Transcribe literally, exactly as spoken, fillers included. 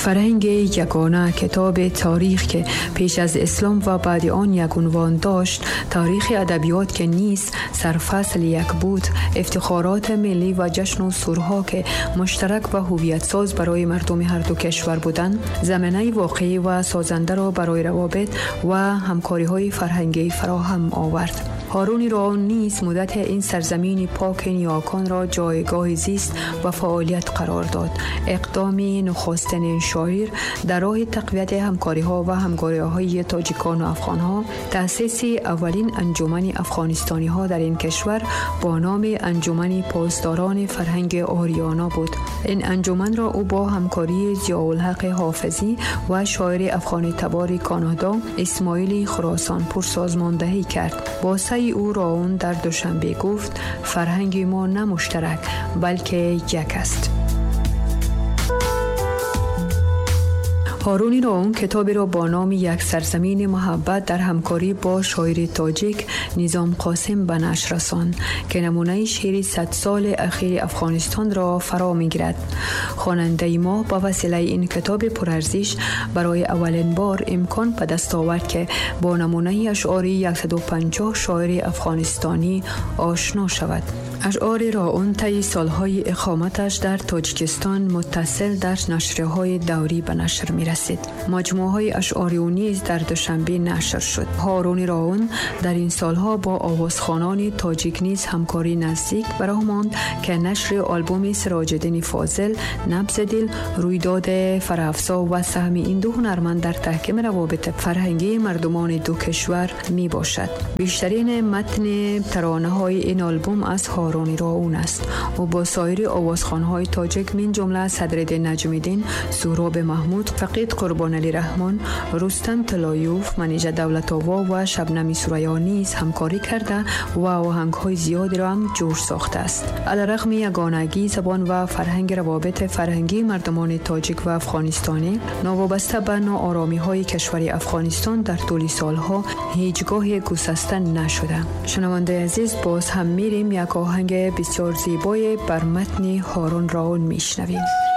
فرهنگ یگانه، کتاب تاریخ که پیش از اسلام و بعد آن یک عنوان داشت، تاریخ ادبیات که نیز سرفصل یک بود، افتخارات ملی و جشن و سورها که مشترک و هویت ساز برای مردم هر دو کشور بودند، زمینه واقعی و سازنده را برای روابط و همکاری‌های فرهنگی فراهم آورد. هارون راون نیز مدت این سرزمین پاک نیاکان را جایگاه زیست و فعالیت قرار داد. اقدام نخستین شاعر در راه تقویت همکاری‌ها و همکاری‌های تاجیکان و افغان‌ها، تأسیس اولین انجمن افغانستانی‌ها در این کشور با نام انجمن پاسداران فرهنگ آریانا بود. این انجمن را او با همکاری ضیاءالحق حافظی و شاعر افغان تبار کانادا اسماعیل خراسان پور سازماندهی کرد. با سعی او راون در دوشنبه گفت فرهنگ ما نه مشترک بلکه یک است. هارون راون کتابی را با نام یک سرزمین محبت در همکاری با شاعر تاجیک نظام قاسم به نشر رساند که نمونه شعر صد سال اخیر افغانستان را فرا می‌گیرد. خواننده ما با وسیله این کتاب پرارزش برای اولین بار امکان به دست آورد که با نمونه اشعار صد و پنجاه شاعر افغانستانی آشنا شود. اشعار راون طی سالهای اقامتش در تاجیکستان متصل در نشریه‌های دوری به نشر می‌رسید. مجموعه‌های اشعار او نیز در دوشنبه نشر شد. هارون راون در این سالها با آوازخوانان تاجیک نیز همکاری نزدیک براه ماند که نشر آلبوم سراج‌الدین فاضل، نبض دل، رویداد فرافزا و سهم این دو هنرمند در تحکیم روابط فرهنگی مردمان دو کشور میباشد. بیشترین متن ترانه‌های این آلبوم از هارون راون است. او با سایر آوازخوان‌های تاجیک من جمله صدرالدین نجم‌الدین، سوراب محمود، فقید قربان علی رحمان، رستم طلایوف، منیژه دولت‌آوا و شبنم ثریا نیز همکاری کرده و آهنگ‌های زیادی را هم جور ساخته است. علیرغم یگانگی زبان و فرهنگ روابط فرهنگی مردمان تاجیک و افغانستانی، ناوابسته به ناآرامی‌های کشور افغانستان در طول سالها هیچگاه گسسته نشده. شنونده عزیز، باز هم میریم یک آهنگ بسیار زیبای بر متن هارون راون میشنویم.